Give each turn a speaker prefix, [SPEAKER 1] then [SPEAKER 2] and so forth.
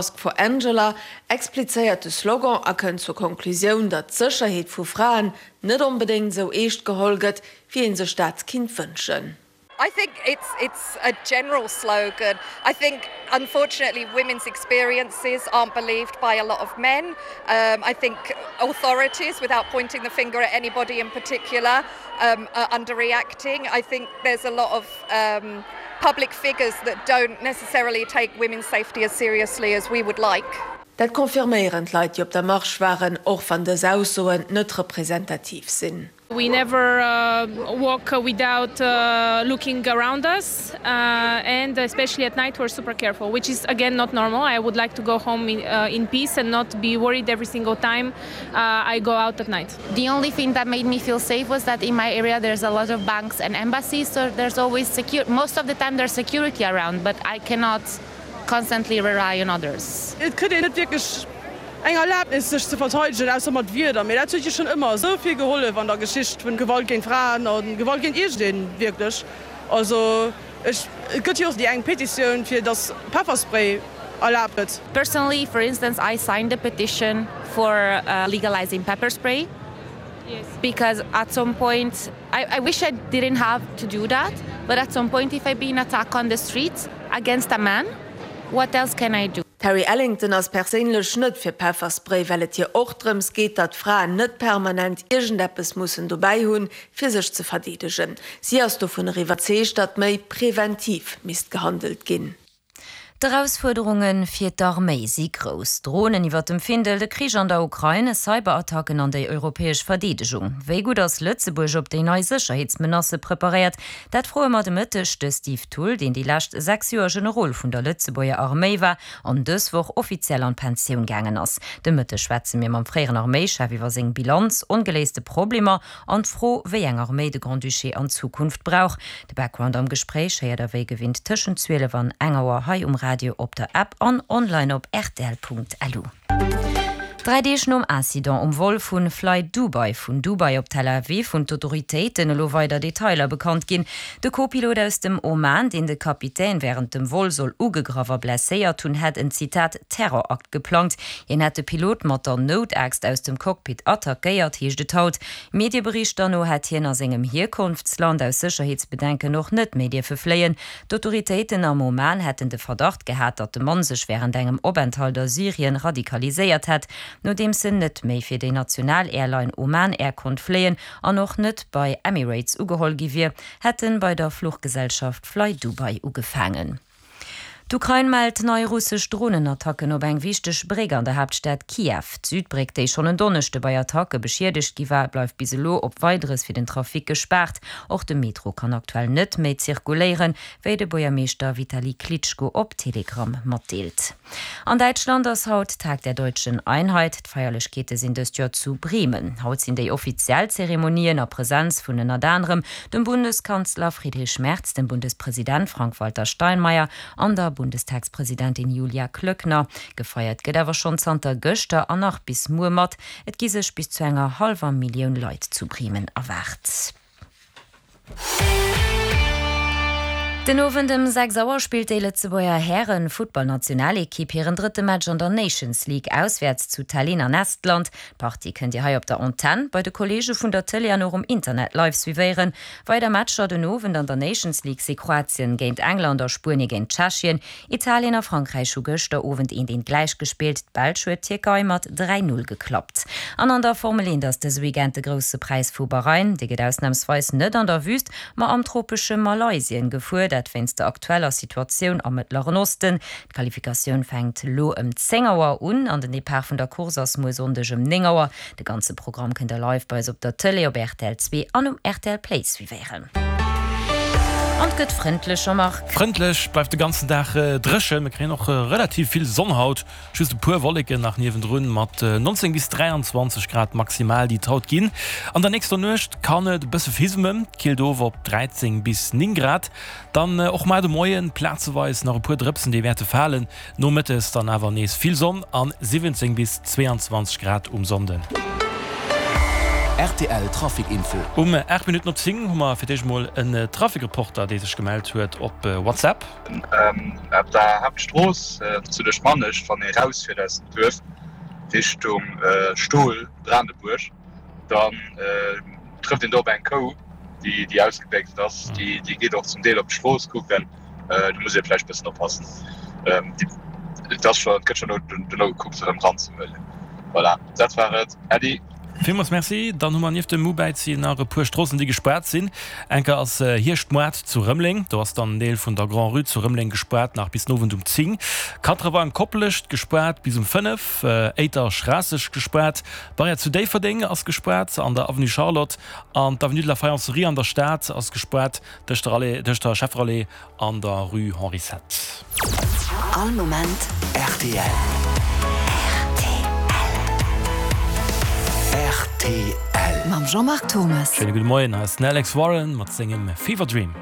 [SPEAKER 1] Ask for Angela explizéiert de Slogan a kënnt zur Konklusioun, datt d'Sécherheet vu Fraen net onbedéngt esou eescht geholl gëtt, wéi ee sech dat kinnt wënschen.
[SPEAKER 2] I think it's it's a general slogan. I think unfortunately women's experiences aren't believed by a lot of men. I think authorities, without pointing the finger at anybody in particular, are underreacting. I think there's a lot of public figures that don't necessarily take women's safety as seriously as we would like.
[SPEAKER 1] Dat confirméieren d'Leit, déi op der Marsch waren, och wann dës Aussoen net representativ sinn.
[SPEAKER 3] We never walk without looking around us and especially at night we're super careful, which is again not normal. I would like to go home in peace and not be worried every single time I go out at night.
[SPEAKER 4] The only thing that made me feel safe was that in my area there's a lot of banks and embassies, so there's always secure most of the time there's security around, but I cannot constantly rely on others.
[SPEAKER 5] Et kritt een net wierklech eng Erlaabnis sech ze verteidegen, ausser mat Wierder, mee dat huet jo schonn ëmmer esou vill gehollef an der Geschicht vun Gewalt géint Fraen a Gewalt géint iergendeen wierklech. Also ech, et gëtt jo och déi eng Petitioun fir datt Pefferspray erlaabt gëtt.
[SPEAKER 4] Personally, for instance, I signed a petition for legalizing pepper spray because at some point I, I wish I didn't have to do that, but at some point if I been attacked on the streets against a man, what else can I do?
[SPEAKER 1] D'Harry Ellington ass perséinlech net fir Pefferspray, well et hir och drëms geet, datt Fraen net permanent iergendeppes mussen dobäi hunn, fir sech ze verdeedegen. Si ass dovunner iwwerzeegt, datt méi preventiv misst gehandelt ginn.
[SPEAKER 6] D'Erausfuerderunge fir d'Arméi si grouss, Dronen iwwer dem Findel, de Krich an der Ukrain, Cyberattacken an déi europäesch Verdeedegung. Wéi gutt ass Lëtzebuerg op déi nei Sécherheetsmenacë preparéiert? Dat froe mer de Mëtteg de Steve Thull, deen déi lescht 6 Joer Generol vun der Lëtzebuerger Arméi war an dës Woch offiziell an d'Pensioun gaangen ass. De Mëtteg schwätze mir mam fréieren Arméischef iwwer seng Bilanz, ongeléiste Problemer An d'Fro, wéi eng Arméi de Grand-Duché an Zukunft brauch. De Background am Gespréich héiert der wéi gewinnt tëschent 12 an eng Auer hei um Radio, op der App an online op rtl.lu. Dräi Deeg nom Incident um Vol vu Fly Dubai vun Dubai op Tel Aviv hunn d'Autoritéiten elo weider Detailer bekannt ginn. De Co-Pilot aus dem Oman, deen de Kapitän wärend dem Vol soll ugegraff a blesséiert hunn, hätt en, Zitat, Terrorakt geplangt. Hien hätt de Pilot mat der Noutaaxt aus dem Cockpit attackéiert, heescht et haut. Medieberichter no hätt hien a sengem Hierkonftsland aus Sécherheetsbedenken och net méi dierfe fléien. D'Autoritéiten am Oman hätten de Verdacht gehat, datt de Mann sech wärend engem Openthalt a Syrien radikaliséiert hätt, nodeems en net méi fir déi national Airline Oman Air konnt fléien an och net bei Emirates ugeholl gi wier, hätt en bei der Fluchgesellschaft Flydubai ugefaangen. D'Ukrain mellt nei russesch Dronenattacken op eng wichteg Bréck an der Haaptstad Kiew. D'Südbréck, déi schonn en Donneschde bei Attacke beschiedegt gi war, bleift bis elo op Weideres fir den Trafic gespaart. Och de Metro kann aktuell net méi zirkuléieren, wéi de Buergermeeschter Vitali Klitschko op Telegram matdeelt. An Däitschland ass haut Tag der deutschen Einheit. D'Feierlechkeete sinn dëst Joer zu Bremen. Haut sinn déi offiziell Zeremonien a Presenz vun ënnert anerem dem Bundeskanzler Friedrich Merz, dem Bundespresident Frank-Walter Steinmeier an der Bundestagspresidentin Julia Klöckner. Gefeiert gëtt awer schonn zanter gëschter an nach bis muer mat. Et gi sech bis zu enger hallwer Millioun Leit zu Bremen erwaart. Den Owend ëm 6 Auer spillt déi Lëtzebuerger Hären-Futtballnationalekipp hiren drëtte Match an der Nations League auswäerts zu Tallinn an Estland. D'Partie kënnt Dir hei op der Antenn, bei de Kolleege vun der Tëlee an och um Internet live suivéieren. Weider Matcher den Owend an der Nations League si Kroatien géint England a Spuenie géint Tschechien. Italien a Frankräich hu gëschter Owend eent eent gläich gespillt, d'Belsch huet d'Tierkei mat 3, 0 geklappt. An an der Formel 1 ass dëse Weekend de Grousse Präis vu Bahrain. Dee gëtt ausnamsweis net an der Wüst, ma am tropesche Malaysien gefuer, dat wéinst der aktueller Situatioun am Mëttleren Osten. D'Qualifikatioun fänkt lo ëm 10 Auer un an den Depart vun der Course ass muer Sonndeg ëm 9 Auer. De ganze Programm kënnt der live bei eis op der Tëlee, op rtl 2 an um rtl Play suivéieren. An 't gëtt frëndlech, Jean-Marc.
[SPEAKER 7] Frëndlech, bleift de ganzen Dag dréchen. Mir kréien och relativ vill Sonn haut, just e puer Wolleken nach niewendrun, mat 19 bis 23 Grad maximal, déi et haut ginn. An der nächster Nuecht kann et e bësse fismen, killt of op 13 bis 9 Grad. Dann och mar de Moien plazeweis nach e puer Drëpsen, déi wäerte falen. Nomëttes dann awer nees vill Sonn an 17 bis 22 Grad um Sonnden. Rtl Trafic Info. Um 8 Minutten op 10 hu mer fir d'éischt mol en Trafic-Reporter, dee sech gemellt huet op WhatsApp.
[SPEAKER 8] Op der Haaptstrooss zu Leschmanecht, wann ee rausfiert aus dem Duerf Richtung Stol, Branebuerg, dann trëfft een do op eng Kou, déi ausgebéchst ass. Déi geet och zum Deel op d'Strooss kucken. Do muss ee vläicht e bëssen oppassen. Et ass scho, et gëtt scho dono gekuckt, se erëm eranzehuelen. Voilà, dat war et. Äddi.
[SPEAKER 7] Villmools Merci. Dann hu mer nieft dem Mubäizi nach e puer Stroossen, déi gespaart sinn. Enker ass Hierschtmoart zu Rëmeleng. Do ass dann en Deel vun der Grand-Rue zu Rëmeleng gespaart, nach bis den Owend um 10. Quatre-Vents Koplescht gespaart bis um 5. Éiter Schraasseg gespaart. D'Barrière zu Déifferdeng ass gespaart an der Avenue Charlotte an d'Avenue de la Faïencerie an der Stad ass gespaart tëscht der Allée, tëscht der Schefferallée an der Rue Henri Sept.
[SPEAKER 9] All Moment rtl. Rtl. Mam Jean-Marc Thomas.
[SPEAKER 7] Schéine gudde Moien, hei ass den Alex Warren mat sengem Fever Dream.